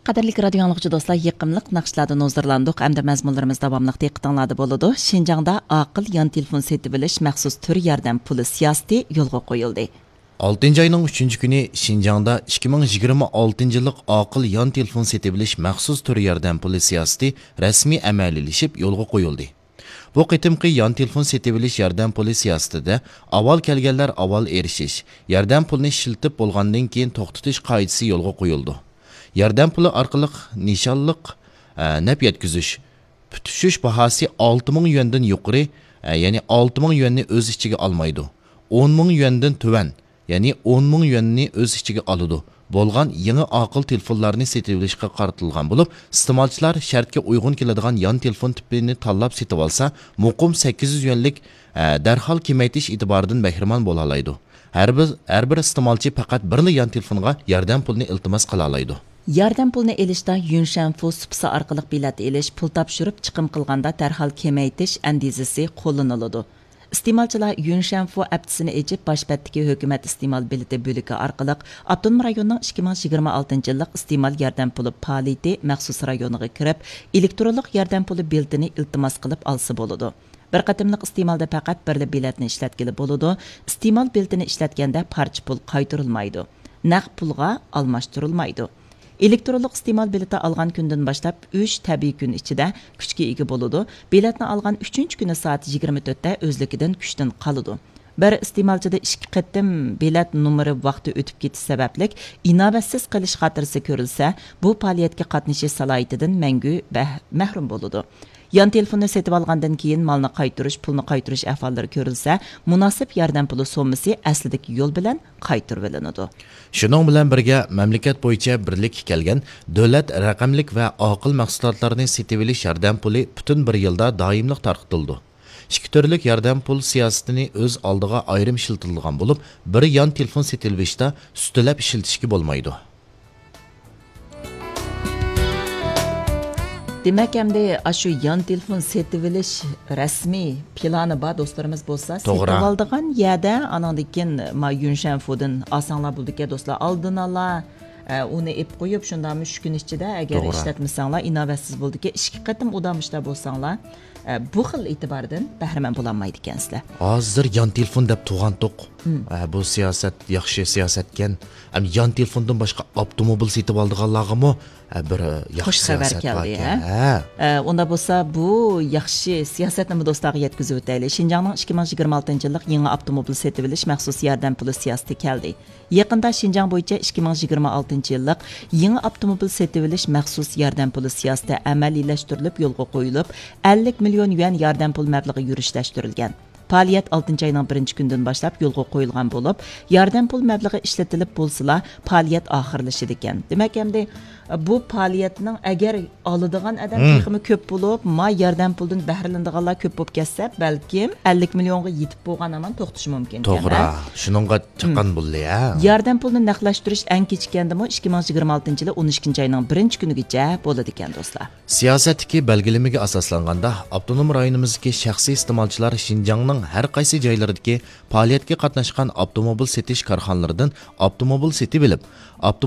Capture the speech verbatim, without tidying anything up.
قەدىرلىك رادىيو ئاڭلىغۇچى دوستلار، يېقىملىق ناخشىلاردىن ھۇزۇرلاندۇق. ئەمدى مەزمۇنلىرىمىز داۋاملىق دىققىتىڭلاردا بولىدۇ. شىنجاڭدا ئاقىل يان تېلېفون سېتىۋېلىش مەخسۇس تۈر ياردەم پۇلى سىياسىتى يولغا قويۇلدى. ئالتىنچى ئاينىڭ ئۈچىنچى كۈنى شىنجاڭدا ئىككى مىڭ يىگىرمە ئالتىنچى يىللىق ئاقىل يان تېلېفون سېتىۋېلىش مەخسۇس تۈر ياردەم پۇلى سىياسىتى رەسمىي ئەمەلىيلىشىپ يولغا قويۇلدى. بۇ قېتىمقى يان تېلېفون سېتىۋېلىش ياردەم پۇلى سىياسىتىدە ئاۋۋال كەلگەنلەر ئاۋۋال ئېرىشىش، ياردەم پۇلىنى ئىشلىتىپ بولغاندىن كېيىن توختىتىش قائىدىسى يولغا قويۇلىدۇ. ياردەم پۇلى ئارقىلىق نىشانلىق، ئە، نەپ يەتكۈزۈش، پۈتۈشۈش باھاسى ئالتە مىڭ يۈەندىن يۇقىرى، ئە، يەنى ئالتە مىڭ يۈەننى ئۆز ئىچىگە ئالمايدۇ. ئون مىڭ يۈەندىن تۆۋەن، يەنى ئون مىڭ يۈەننى ئۆز ئىچىگە ئالىدۇ. بولغان يېڭى ئاقىل تېلېفونلارنى سېتىۋېلىشقا قارىتىلغان بولۇپ، ئىستېمالچىلار شەرتكە ئۇيغۇن كېلىدىغان يان تېلېفون تىپىنى تاللاپ سېتىۋالسا، مۇقىم سەككىز يۈز يۈەنلىك، ئە، دەرھال كېمەيتىش ئېتىبارىدىن بەھرىمەن بولالايدۇ. ھەر بىر، ھەر بىر ئىستېمالچى پەقەت بىرلا يان تېلېفونغا ياردەم پۇلىنى ئىلتىماس قىلالايدۇ. ياردەم پۇلىنى ئېلىشتا يۈنشەنفۇ سۇپىسى ئارقىلىق بېلەت ئېلىش، پۇل تاپشۇرۇپ چىقىم قىلغاندا دەرھال كېمەيتىش ئەندىزىسى قوللىنىلىدۇ. ئىستېمالچىلار يۈنشەنفۇ ئەپتىسىنى ئېچىپ، باش بەتتىكى ھۆكۈمەت ئىستېمال بېلىتى بۆلىكى ئارقىلىق ئاپتونوم رايوننىڭ ئىككى مىڭ يىگىرمە ئالتىنچى يىللىق ئىستېمال ياردەم پۇلى پائالىيىتى مەخسۇس رايونىغا كىرىپ، ئېلېكترونلۇق ياردەم پۇلى بېلىتىنى ئىلتىماس قىلىپ ئالسا بولىدۇ. بىر قېتىملىق ئىستېمالدا پەقەت بىرلا بېلەتنى ئىشلەتكىلى بولىدۇ. ئىستېمال بېلىتىنى ئىشلەتكەندە پارچە پۇل قايتۇرۇلمايدۇ. نەق پۇلغا ئالماشتۇرۇلمايدۇ. ئېلېكترونلۇق ئىستېمال بېلىتى ئالغان كۈندىن باشلاپ ئۈچ تەبىئىي كۈن ئىچىدە كۈچكە ئىگە بولىدۇ. بېلەتنى ئالغان ئۈچىنچى كۈنى سائەت يىگىرمە تۆتتە ئۆزلۈكىدىن كۈچتىن قالىدۇ. بىر ئىستېمالچىدا ئىككى قېتىم بېلەت نومۇرى ۋاقتى ئۆتۈپ كېتىش سەۋەبلىك ئىناۋەتسىز قېلىش خاتىرىسى كۆرۈلسە، بۇ پائالىيەتكە قاتنىشىش سالاھىيىتىدىن مەڭگۈ بەھ-، مەھرۇم بولىدۇ. يان تېلېفوننى سېتىۋالغاندىن كېيىن مالنى قايتۇرۇش، پۇلنى قايتۇرۇش ئەھۋاللىرى كۆرۈلسە، مۇناسىپ ياردەم پۇلى سوممىسى ئەسلىدىكى يول بىلەن قايتۇرۇۋېلىنىدۇ. شۇنىڭ بىلەن بىرگە، مەملىكەت بويىچە بىرلىككە كەلگەن دۆلەت رەقەملىك ۋە ئاقىل مەھسۇلاتلارنى سېتىۋېلىش ياردەم پۇلى پۈتۈن بىر يىلدا دائىملىق تارقىتىلىدۇ. ئىككى تۈرلۈك ياردەم پۇل سىياسىتىنى ئۆز ئالدىغا ئايرىم ئىشلىتىلىدىغان بولۇپ، بىر يان تېلېفون سېتىۋېلىشتا ئۈستىلەپ ئىشلىتىشكە بولمايدۇ. دېمەك، ئەمدى ئاشۇ يان تېلېفون سېتىۋېلىش رەسمىي پىلانى بار دوستلىرىمىز بولسا، توغرا. سېتىۋالىدىغان يەردە، ئاناندىن كېيىن ما يۈنشەنفۇدىن ئالساڭلار بولىدىكەن دوستلار، ئالدىن ئالا، ئە، ئۇنى ئېلىپ قويۇپ، شۇنداقمۇ ئۈچ كۈن ئىچىدە ئەگەر توغرا. ئىشلەتمىسەڭلار، ئىناۋەتسىز بولىدىكەن، ئىككى قېتىم ئۇدا مۇشتا بولساڭلار، ئە، بۇ خىل ئېتىباردىن بەھرىمەن بولالمايدىكەنسىلەر. ھازىر يان تېلېفون دەپ تۇرغانتۇق. مم. ئە، بۇ سىياسەت ياخشى سىياسەتكەن. ئەم، يان تېلېفوندىن باشقا ئاپتوموبىل سېتىۋالىدىغانلارغىمۇ، ئە، بىر ياخشى خۇش خەۋەر سىياسەت كەلدى، باركەن. ھە؟ ھە. ئە، ئۇندا بولسا بۇ ياخشى سىياسەتنىمۇ دوستلارغا يەتكۈزۈۋېتەيلى. شىنجاڭنىڭ ئىككى مىڭ يىگىرمە ئالتىنچى يىللىق يېڭى ئاپتوموبىل سېتىۋېلىش مەخسۇس ياردەم پۇلى سىياسىتى كەلدى. يېقىندا شىنجاڭ بويىچە ئىككى مىڭ يىگىرمە ئالتىنچى يىللىق يېڭى ئاپتوموبىل سېتىۋېلىش مەخسۇس ياردەم پۇلى سىياسىتى ئەمەلىيلەشتۈرۈلۈپ يولغا قويۇلۇپ، ئەللىك مىليون يۈەن ياردەم پۇل مەبلىغى يۈرۈشلەشتۈرۈلگەن. پائالىيەت ئالتىنچى ئاينىڭ بىرىنچى كۈنىدىن باشلاپ يولغا قويۇلغان بولۇپ، ياردەم پۇل مەبلىغى ئىشلىتىلىپ بولسىلا، پائالىيەت ئاخىرلىشىدىكەن. دېمەك، ئەمدى بۇ پائالىيەتنىڭ ئەگەر ئالىدىغان ئادەم مم. تېخىمۇ كۆپ بولۇپ، ما ياردەم پۇلدىن بەھرىلىنىدىغانلار كۆپ بولۇپ كەتسە، بەلكىم ئەللىك مىليونغا يېتىپ بولغان ھامان توختىشى مۇمكىن. توغرا، شۇنىڭغا چاققان بولدى، ھە. ياردەم پۇلىنى نەقلەشتۈرۈش ئەڭ كېچىككەندىمۇ ئىككى مىڭ يىگىرمە ئالتىنچى يىلى ئون ئىككىنچى ئاينىڭ بىرىنچى كۈنىگىچە بولىدىكەن، دوستلار. سىياسەتتىكى بەلگىلىمىگە ئاساسلانغاندا، ئاپتونوم رايونىمىزدىكى شەخسىي ئىستېمالچىلار شىنجاڭنىڭ ھەر قايسى جايلىرىدىكى پائالىيەتكە قاتناشقان ئاپتوموبىل سېتىش كارخانىلىرىدىن ئاپتوموبىل سېتىۋېلىپ، ئاپتوموبىل